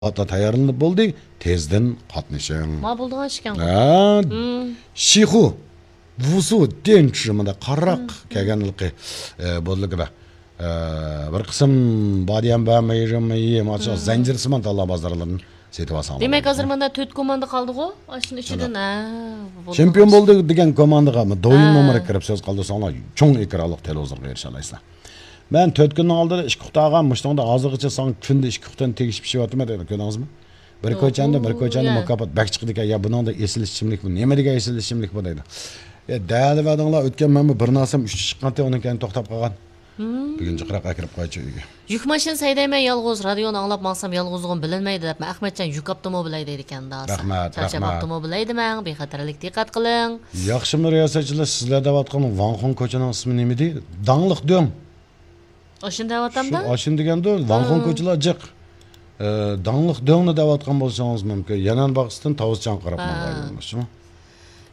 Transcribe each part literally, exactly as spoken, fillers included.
مەھسۇلاتلار تەييارلىنىپ بولدى، تېزدىن قاتنىشىڭ. ما بولىدىغان ئىش ئىكەن. ھە. شىخۇ، ۋۇسۇ، دېنچى مۇنداق قارراق كەلگەنلىكى، ئە، بولدى. ئە، بىر قىسىم بادىيەم بار، مېيىم، مېيىم، ئاشۇ زەنجىرسىمان تاللا بازارلىرىدىن سېتىۋالساڭلار دېمەك، بولىدۇ. ھازىر مانا تۆت كوماندا قالدىغۇ، ئاشۇنىڭ ئىچىدىن، ھە، بولىدىغان چېمپىيون ئىش. بولدى دېگەن كوماندىغا دويىن ھە. نومۇرى كىرىپ سۆز قالدۇرساڭلار، چوڭ ئېكرانلىق تېلېۋىزورغا ئېرىشەلەيسىلەر. مەن تۆت كۈننىڭ ئالدىدا ئىككى قۇتا ئالغان، مۇشۇنىڭدا ھازىرغىچە ساڭا كۈندە ئىككى قۇتىنى تېگىشىپ پىشىۋاتىمەن دەيدۇ، كۆردىڭىزمۇ؟ بىر كوچاندا، بىر كوچاندا يا. مۇكاپات بەك چىقىدىكەن، يا بۇنىڭدا ئېسىل ئىچىملىك بۇ، نېمە دېگەن ئېسىل ئىچىملىك بۇ دەيدۇ. يا، دەلىۋەردىڭلار، ئۆتكەن مەنمۇ بىر نەرسەم ئۈچ چىققانتى، ئۇنىڭ كەينى توختاپ قالغان. بۈگۈن جىقراق ئەكىرىپ قويچۇ ئۆيگە. يۈك ماشىنىسى ھەيدەيمەن يالغۇز، رادىيونى ئاڭلاپ ماڭسام يالغۇزلۇقۇم بىلىنمەيدۇ دەپمەن. ئەخمەتجان يۈك ئاپتىمۇ بىلەي دەيدىكەن داسا. رەھمەت، رەھمەت. چارچىماپتىمۇ بىلەي دېمەڭ، بىخەتەرلىك دىققەت قىلىڭ. ياخشىمۇ رىياسەتچىلەر، سىزلەر دەۋاتقان ۋاڭخۇڭ كوچىنىڭ ئىسمى نېمىدى؟ داڭلىق دۆڭ. ئاشۇنى دەۋاتامدا؟ شۇ، ئاشۇنى دېگەندۇ، ۋاڭخۇڭ كوچىلار جىق. ئە، داڭلىق دۆڭنى دەۋاتقان بولسىڭىز مۇمكىن. يەنئەن باغچىسىدىن تاۋۇزچان قاراپ ماڭغان يولدىشىمۇ؟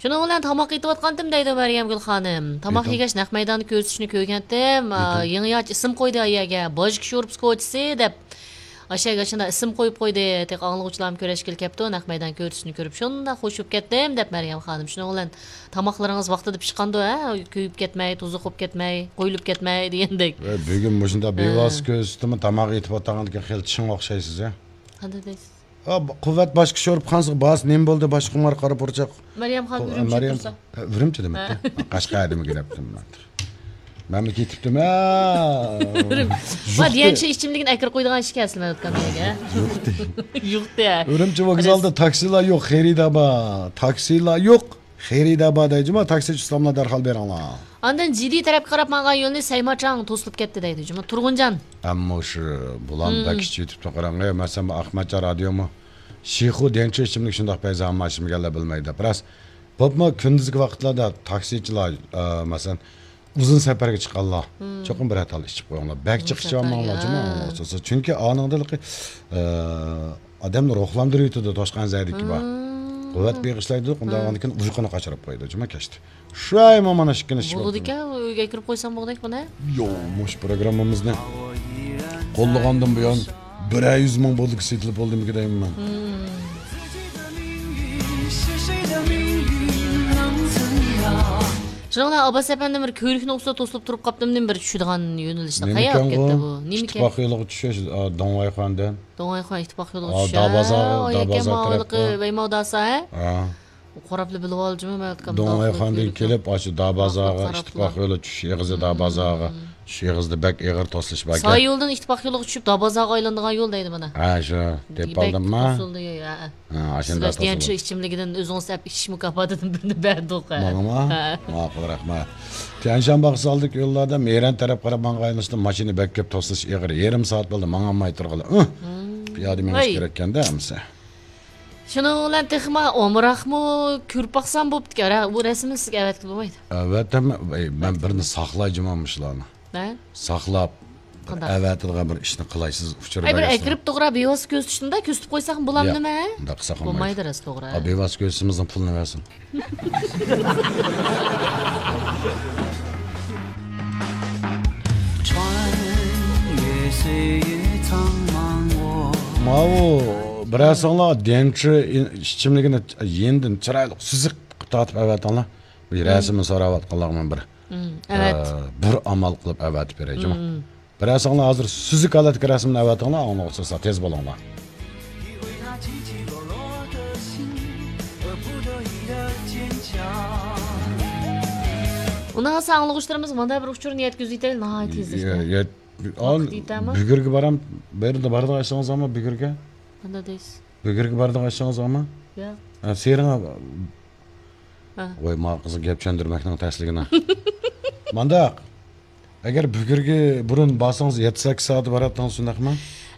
شۇنىڭ بىلەن تاماق ئېتىۋاتقانتىم دەيدۇ مەريەمگۈل خانىم. تاماق يېگەچ نەق مەيداندا كۆرسىتىشنى كۆرگەنتىم. ئا، يېڭى ياچ ئىسىم قويدى ئايەگە. بوژكا شورپىسى كوچىسى دەپ. ئاشەگە شۇنداق ئىسىم قويۇپ قويدى. تېخى ئاڭلىغۇچىلارمۇ كۆرۈشكىلى كەپتۇ. نەق مەيدان كۆرسىتىشنى كۆرۈپ شۇنداق خوش بولۇپ كەتتىم دەپ مەريەم خانىم. شۇنىڭ بىلەن تاماقلىرىڭىز ۋاقتىدا پىشقاندۇ، ھە؟ كۆيۈپ كەتمەي، توزۇق بولۇپ كەتمەي، قويۇلۇپ كەتمەي دېگەندەك. ۋە بۈگۈن مۇشۇنداق ھە. بىۋاسىتە كۆرسىتىمۇ تاماق ئېتىپ ئولتۇرغاندىكىن خېلى چىڭ ئوخشايسىز، ھە؟ قانداق دەيسىز؟ ھا، قۇۋۋەت باشقا شورپىخانىسىغا بارسا نېمە بولدى، باشقا خۇمار قارا پۇرچاق. مەريەم خانىم ئۇ، ئۈرۈمچىگە مەريەم، تۇرسا. ھە، ئۈرۈمچىدىمەن. ھە. قەشقەردىمىكىن دەپتىمەن. مەنمۇ كېتىپتىم، ھە. ۋا، دىيەنچى ئىچىملىكىنى ئەكىرىپ قويىدىغان ئىشكەن ئەسلى مەن ئۆتكەن يەرگە. يوقتى. يوقتى. ئۈرۈمچى ۋوگزالدا تاكسىلار يوق، خېرىدار بار. تاكسىلار يوق، خېرىدار بار دەيدۇ جۇما، تاكسىچى ئۇستاملار دەرھال بېرىڭلار. ئاندىن جىدى تەرەپكە قاراپ مانغان يولنى سەيماچاڭ توسۇلۇپ كەتتى دەيدۇ جۇما. تۇرغۇنجان. ئەمما شۇ بۇلان بەك ئىچىۋېتىپتۇ قاراڭ. مەسىلەن، ئەخمەتجان رادىيومۇ شىخۇ دېنچۇ ئىچىملىك شۇنداق پەيزى ئامما ئىچمىگەنلەر بىلمەيدۇ دەپ. راست. بولۇپمۇ كۈندۈزكى ۋاقىتلاردا تاكسىچىلار، ئە، مەسىلەن، ئۇزۇن سەپەرگە چىققانلار چوقۇم بىرەر تال ئىچىپ قويۇڭلار. بەك جىق ئۇزۇن ئىچىۋالماڭلار، سەپەرگە، جۇمۇ. ھە. چۈنكى ئانىڭدىن، ئە، ئادەمنى روھلاندۇرۇۋېتىدۇ، توشقان زەدىكى بار. قۇۋۋەت بېغىشلايدۇ، ئۇنداق بولغاندىكىن ئۇيقۇنى قاچۇرۇپ قويىدۇ، جۇمۇ كەچتە. شۇ ئايمۇ مانا ئىككىنچى بولىدىكەن، ئۆيگە ئەكىرىپ قويسام بولدى بۇنى. يو، مۇشۇ پروگراممىمىزنى قوللىغاندىن بۇيان بىرەر يۈز مىڭ بولدىكى سېتىلىپ بولدىمىكى دەيمەن مەن. شۇنىڭ بىلەن ئابباس ئەپەندىم بىر كۆۋرۈكنىڭ ئۈستىدە توسۇلۇپ تۇرۇپ قاپتىمۇ، بىر چۈشىدىغان يۆنىلىشتە قاياق كەتتى بۇ؟ نېمىكەن؟ ئىتتىپاق يولىغا چۈشۈش، داڭۋاي خاندىن. داڭۋاي خان ئىتتىپاق يولىغا چۈشۈش. دابازا، دابازا تەرەپكە. ۋەيماۋداسا، ھە؟ ھە. قاراپلا بىلىۋالدىم مەن. داڭۋاي خاندىن كېلىپ، ئاشۇ دابازاغا ئىتتىپاق يولى چۈشۈش ئېغىزى دابازاغا. شۇ ئېغىزدا بەك ئېغىر توسۇلۇش بار ئىكەن. ساي يولدىن ئىتتىپاق يولىغا چۈشۈپ، دابازاغا ئايلىنىدىغان يول دەيدۇ مانا. ھە، شۇ. تېپىپ ئالدىمما؟ ھە، ئاشۇنداق توسۇلدى. شۇ ئىچىملىكىدىن ئۆزىڭىز ئەپ ئىچىش مۇكاپاتىدىن بىرنى بەردۇق، ھە. ماڭىمۇ؟ ھە. ماقۇل، رەھمەت. تيەنشان باغچىسى ئالدىدىكى يوللاردا مەيرەن تەرەپ قاراپ ماڭغان ئايلىنىشتا ماشىنا بەك كۆپ توسۇلۇش ئېغىر. يېرىم سائەت بولدى، ماڭالماي تۇرغىلى. ئۇھ! پىيادە مېڭىش كېرەككەندە ئەمسە. شۇنىڭ بىلەن تېخىمۇ ئامراقمۇ كۆرۈپ باقسام بوپتىكەن. رە-، بۇ رەسىمنى سىزگە ئەۋەتكىلى بولمايدۇ. ئەۋەتەممەن، ئەي، مەن بىرنى ساقلاي جۇمۇ مۇشۇلارنى. ھە؟ ساقلاپ، بىر قانداق؟ ئەۋەتىدىغان بىر ئىشنى قىلاي، سىز ئۇچۇر بېرىسىز. ئەي، بىر ئەكىرىپ توغرا بىۋاسىتە كۆرسىتىشتىن-دە، كۆرسىتىپ قويساقمۇ بولامدىمە؟ ياق، ئۇنداق قىلساق بولمايدۇ. بولمايدۇ راست، توغرا. ئا، بىۋاسىتە كۆرسىتىشىمىزنىڭ پۇلىنى بەرسۇن. ماۋۇ بىرەرسىڭلار دەنچى ئىچىملىكىنى يېنىدىن چىرايلىق سۈزۈك قىلىپ تارتىپ ئەۋەتىڭلار. بۇ رەسىمنى سوراۋاتقانلارغا مەن بىر، ئەۋەت. ئە، بىر ئامال قىلىپ ئەۋەتىپ بېرەي، جۇمۇ. بىرەرسىڭلار ھازىر سۈزۈك ھالەتتىكى رەسىمنى ئەۋەتىڭلار، ئاڭلىغۇچىلار تېز بولۇڭلار. ئۇنىڭ ئاڭلىغۇچىلىرىمىز مانا بىر ئۇچۇرنى يەتكۈزۈۋېتەيلى، ناھايىتى تېزلىكتە. يە-، يەت-، ۋاقىت يېتەرمۇ؟ بۈگۈرگە بارام، بەرىدە بارىدىغان ئىشىڭىزمۇ بۈگۈرگە؟ قانداق دەيسىز؟ بۈگۈرگە بارىدىغان ئىشىڭىزمۇ؟ ياق. ھە، سېرىڭ. ھە. ۋاي، ما قىزغا گەپ چۈشەندۈرمەكنىڭ تەسلىكىنى. مانداق. ئەگەر بۈگۈرگە بۇرۇن بارسىڭىز، يەتتە سەككىز سائەت باراتتىڭىز، شۇنداقمۇ؟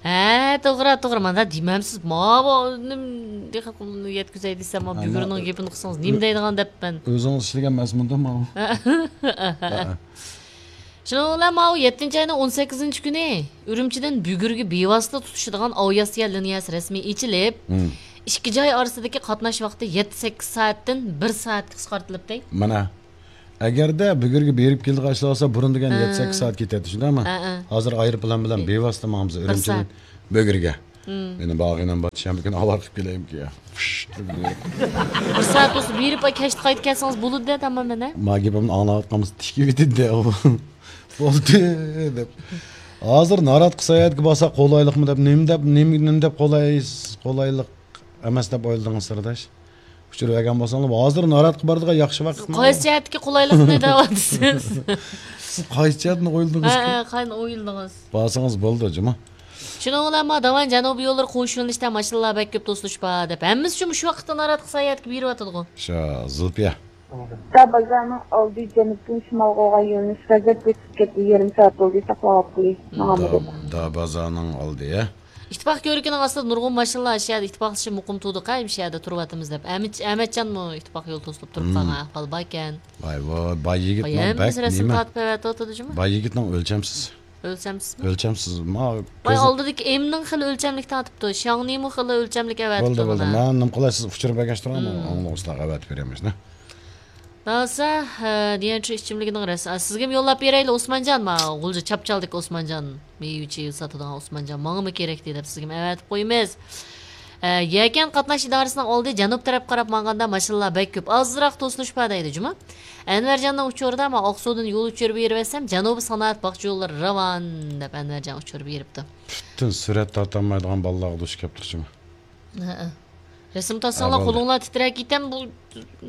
ھە، توغرا، توغرا. مانا دېمەمسىز، ماۋۇ نېمە، يەتكۈزەي دېسەم، ھە، بۈگۈرنىڭ گېپىنى قىلسىڭىز، نېمە دەيدىغان دەپمەن. ئۆزىڭىز ئىشلىگەن ئەمەسمىدۇ ماۋۇ؟ ھە. شۇنىڭ بىلەن ماۋۇ يەتتىنچى ئاينىڭ ئون سەككىزىنچى كۈنى ئۈرۈمچىدىن بۈگۈرگە بىۋاسىتە تۇتىشىدىغان ئاۋىئاتسىيە لىنىيەسى رەسمىي ئېچىلىپ، ئىككى جاي ئارىسىدىكى قاتناش ۋاقتى يەتتە سەككىز سائەتتىن بىر سائەتكە قىسقارتىلىپتۇ. مانا، ئەگەردە بۈگۈرگە بېرىپ كېلىدىغان ئىشلار بولسا، بۇرۇن دېگەن يەتتە سەككىز سائەت كېتەتتى، شۇنداقمۇ؟ ھە، ھە. ھازىر ئايروپىلان بىلەن بىۋاسىتە ماڭىمىز ئۈرۈمچىدىن بۈگۈرگە. مېنى بارغىنىم بار، شەنبە كۈنى ئاۋارە قىلىپ كېلەيمىكىن يا؟ پۇشت دەپ. بىر سائەت بولسا بېرىپ، كەچتە قايتىپ كەلسىڭىز بولىدۇ دەپ، ئەمما مانا. ما گېپىمنى ئاڭلاۋاتقانمىسا تىكىۋېتىدۇ. بولدى دەپ. ھازىر ناراتقا ساياھەتكە بارساق قولايلىقمۇ دەپ، نېمە دەپ، نېمە، نېمە دەپ قولاي-، قولايلىق ئەمەس دەپ ئويلىدىڭىز، سىرداش؟ ئۇچۇر بەرگەن بولساڭلار، ھازىر ناراتقا بارىدىغان ياخشى ۋاقىت. قايسى جەھەتتىكى قولايلىقنى دەۋاتىسىز؟ سىز قايسى جەھەتنى ئويلىدىڭىز؟ ھە، ھە، قايسىنى ئويلىدىڭىز؟ بارسىڭىز بولدى، جۇمۇ. شۇنىڭ بىلەن ما داۋان جەنۇبىي يوللىرى قوش يۆنىلىشتە ماشىنىلار بەك كۆپ، توسۇلۇش بار دەپ. ھەممىسى شۇ، مۇشۇ ۋاقىتتا ناراتقا ساياھەتكە بېرىۋاتىدىغۇ. شۇ، زۇلپىيە. بازارنىڭ ئالدى جەنۇبتىن شىمالغا بولغان يۆنىلىش غەزەپ ئۆتۈپ كەتتى، يېرىم سائەت بولدى ساقلاۋاتقىلى. ماڭا دا، دا بازارنىڭ ئالدى، ھە؟ ئىتتىپاق كۆۋرۈكىنىڭ ئاستىدا نۇرغۇن ماشىنىلار شۇ يەردە ئىتتىپاقلىشىپ مۇقىم تۇردۇق، ھە، شۇ يەردە تۇرۇۋاتىمىز دەپ. ئەمىت-، ئەمەتجانمۇ ئىتتىپاق يول توسۇلۇپ تۇرۇپ قالغان ئەھۋال باركەن. ۋاي، ۋاي، باي يىگىت باي ماڭا ھەممىسى بەك رەسىم نېمە؟ تارتىپ ئەۋەتىۋاتىدۇ جۇمۇ. باي يىگىتنىڭ ئۆلچەمسىز. ئۆلچەمسىزمۇ؟ ئۆلچەمسىز. ما باي كۆزى ئالدىدىكى ئېمنىڭ خېلى ئۆلچەملىك تارتىپتۇ. شياڭنىمۇ خېلى ئۆلچەملىك ئەۋەتىپتۇ. بولدى، بولدى. مانا. مەن نېمە قىلاي، سىز ئۇچۇر بەرگەچ تۇرۇڭ، مم. ئاڭلىغۇچىلارغا ئەۋەتىپ بېرەمىز، نە؟ داسا، ھە، دىيەنچۇ ئىچىملىكىنىڭ رەس-، ئا، سىزگىمۇ يوللاپ بېرەيلى، ئوسمانجان، ما، غۇلجا چاپچالدىكى ئوسمانجان، مېۋە-چېۋە ساتىدىغان ئوسمانجان، ماڭىمۇ كېرەكتى دەپ سىزگىمۇ ئەۋەتىپ قويىمىز. ئە، يەكەن قاتناش ئىدارىسىنىڭ ئالدى جەنۇب تەرەپ قاراپ ماڭغاندا ماشىنىلار بەك كۆپ، ئازراق توسۇلۇش بار دەيدۇ جۇمۇ. ئەنۋەرجاننىڭ ئۇچۇرىدا، ما، ئاقسۇدىن يول ئۇچۇرى بېرىۋەتسەم، جەنۇبىي سانائەت باغچە يوللىرى راۋان دەپ ئەنۋەرجان ئۇچۇر بېرىپتۇ. پۈتۈن سۈرەت تارتالمايدىغان بالىلارغا دۇچ كەپتۇ جۇمۇ. ھەئە. رەسىم تارتساڭلار ھە، بولدى. قولۇڭلار تىترەپ كېتەم، بۇ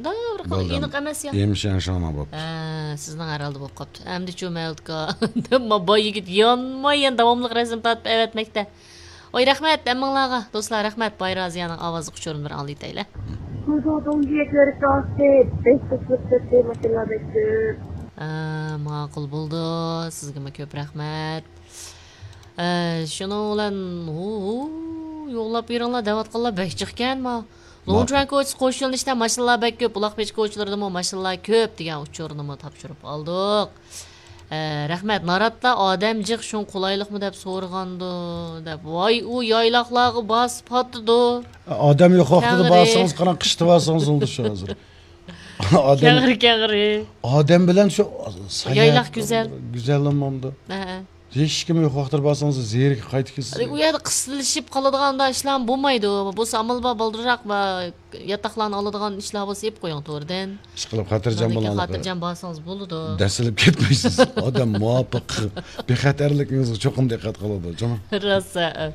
داۋراق بولدى، ئېنىق ئەمەس يا. ئېمىشەن شۇڭا بوپتۇ. ھە، سىزنىڭ ھەر ھالدا بولۇپ قاپتۇ. ئەمدىچۇ مەۋلۇتكا؟ دەپ ما باي يىگىت يانماي يەنە داۋاملىق رەسىم تارتىپ ئەۋەتمەكتە. ۋاي رەھمەت ھەممىڭلارغا. دوستلار، رەھمەت. باي رازىيەنىڭ ئاۋازلىق ئۇچۇرىنى بىر ئاڭلىتەيلى. 普通通学としてベストスポットって街がです。 ھە، ماقۇل بولدى. سىزگىمۇ كۆپ رەھمەت. ئە، شۇنىڭ بىلەن، ھۇ، ھۇ، يوللاپ بېرىڭلار دەۋاتقانلار بەك جىقكەن ما. لوڭچۈەن كوچىسى قوش يۆنىلىشتە ماشىنىلار بەك كۆپ، بۇلاقبېشى كوچىلىرىدىمۇ ماشىنىلار كۆپ دېگەن ئۇچۇرنىمۇ تاپشۇرۇپ ئالدۇق. ئە، رەھمەت. ناراتتا ئادەم جىق، شۇڭا قولايلىقمۇ دەپ سورىغاندۇ، دەپ. ۋاي، ئۇ يايلاقلارغا بارسا پاتىدۇ. ئادەم يوق ۋاقتىدا كەڭرى. بارسىڭىز، قاراڭ، قىشتا بارسىڭىز بولدى شۇ ھازىر. ئادەم، كەڭرى، كەڭرى. ئادەم بىلەن شۇ ساياھەت يايلاق گۈزەل. گۈزەل بولمامدۇ؟ ھە، ھە. ھېچكىم يوق ۋاقتىدا بارسىڭىز زېرىكىپ قايتىسىز. ئۇ يەردە قىستىلىشىپ قالىدىغان ئىشلارمۇ بولمايدۇ. بولسا ئامال بار بالدۇرراق ياتاقلارنى ئالىدىغان ئىشلار بولسا ئېلىپ قويۇڭ توردىن. ئىشقىلىپ خاتىرجەم بولۇڭ. خاتىرجەم بارسىڭىز بولىدۇ. دەسسىلىپ كەتمەيسىز. ئادەم مۇۋاپىق. بىخەتەرلىكىڭىزگە چوقۇم دىققەت قىلىدۇ، جۇمۇ. راست، ھە.